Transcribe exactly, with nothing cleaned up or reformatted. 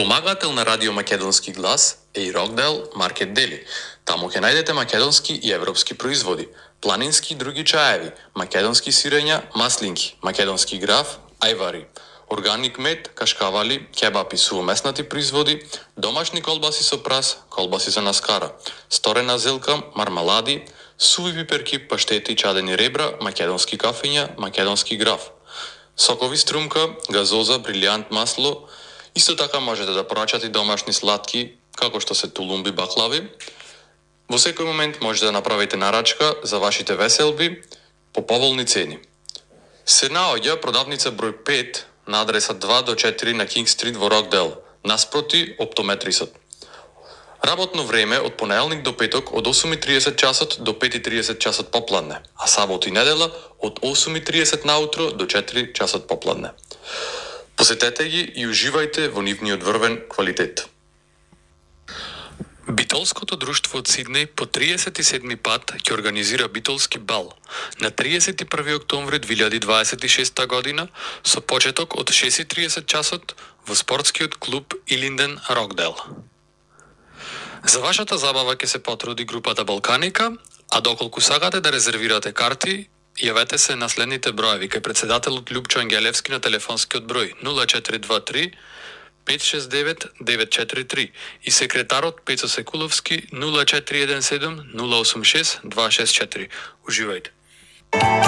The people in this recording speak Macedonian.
Помагател на Радио Македонски глас е и Рокдел Маркет Дели. Таму ќе најдете македонски и европски производи, планински и други чаеви, македонски сирења, маслинки, македонски граф, ајвари, органик мед, кашкавали, кебап и сувомеснати производи, домашни колбаси со прас, колбаси за наскара, сторена зелка, мармалади, суви пиперки, паштети, чадени ребра, македонски кафења, македонски граф, сокови струмка, газоза, брилјант масло. Исто така можете да порачате домашни сладки, како што се тулумби, баклави. Во секој момент можете да направите нарачка за вашите веселби по поволни цени. Се наоѓа продавница број пет на адреса два до четири на Кинг Стрит во Рокдел, наспроти оптометрисот. Работно време од понеделник до петок од осум и триесет часот до пет и триесет часот попладне, а сабота и недела од осум и триесет наутро до четири часот попладне. Посетете ги и уживајте во нивниот врвен квалитет. Битолското друштво од Сиднеј по триесет и седми пат ќе организира битолски бал на триесет и први октомври две илјади дваесет и шеста година со почеток од шест и триесет часот во спортскиот клуб Илинден Рокдел. За вашата забава ќе се потруди групата Балканика, а доколку сакате да резервирате карти, јавете се на следните броеви кај претседателот Љупчо Ангелевски на телефонскиот број нула четири два три пет шест девет девет четири три и секретарот Пецо Секуловски нула четири еден седум нула осум шест два шест четири. Уживајте.